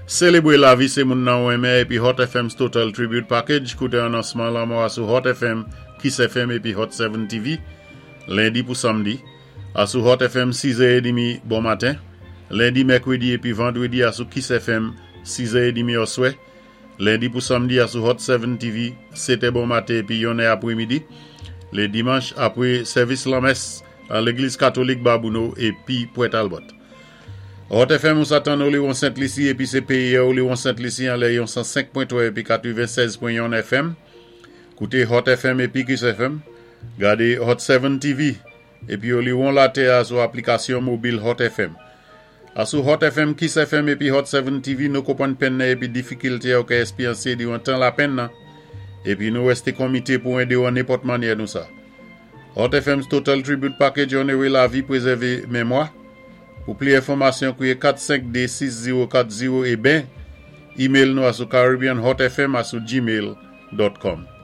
Sélébwé lavi sé moun nan ou renmen épi Hot FM's Total Tribute Package. Kouté anonsman lanmò a sou Hot FM, Kiss FM épi Hot 7 TV, lendi pou samdi, asou Hot FM 6 è édmi bon maten, lendi, mèkwédi épi vandwédi asou Kiss FM 6 è édmi oswè, lendi pou samdi asou Hot 7 TV 7 è bon maten épi 1 è apwémidi, lé dimanch apwé sèvis lanmès an Légliz Katolik Babouno épi Pwè Talbot. Hot FM ou sa tann Oléron Sent Lisi épi sé péyi Oléron Sent Lisi anlè yon 105.3 épi 96.1 FM. Kouté Hot FM épi Kiss FM. Gadé Hot 7 TV épi Oléron Latè a sou aplikasyon mobil Hot FM. Asou Hot FM, Kiss FM épi Hot 7 TV, nou konpwann penn nan épi difikilté ou ka èspéryansé diwan tan lapenn nan. Épi nou wèsté konmité pou édé ou an nenpòt mannyè nou sa. Hot FM's Total Tribute Package onoré lavi, pwézèvé mémwa. Pou pli enfòmasyon, kwiyé 452 6040 é ben email nou asou caribbeanhotfm@gmail.com.